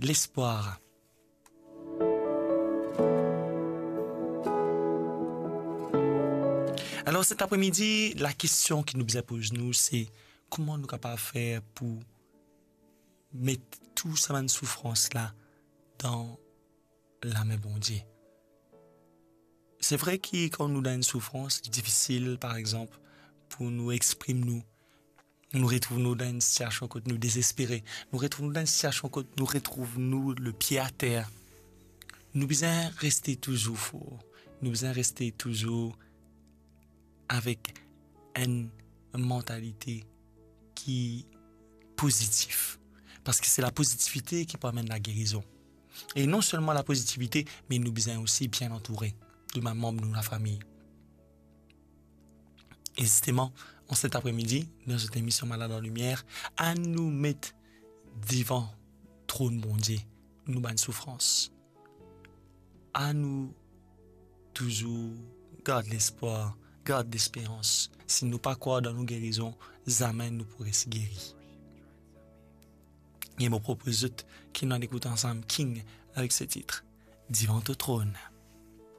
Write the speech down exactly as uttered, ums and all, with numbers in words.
lespwar. Alor, set apremidi, lakestion ki nou bizin poz nou, se kouma nou kapav fer pou met tou sa bann soufrans la dan lame Bondie. Se vre ki kan nou dan enn soufrans, li difisil, par exanp, pou nou exprim nou. Nou retrouv nou dan enn sitiasion kot nou dezespere. Nou retrouv nou dan enn sitiasion kot nou retrouv nou lepie ater. Nou bizin reste touzour for. Nou bizin reste touzour avek enn mantalite ki pozitif. Parski se lapozitivite ki pou amenn lagerizon. E non selman lapozitivite, me nou bizin osi bien antoure de bann manb nou lafami. E zisteman, an set apremidi, dan zot emision Malad an Limier, anou met devan tronn Bondie nou bann soufrans. Anou touzour gard lespwar, gard lesperans. Si nou pa krwar dan nou gerizon, zame nou pou res geri. E mo propoz zot ki nou al ekout ansam King avek se tit Devan to tronn.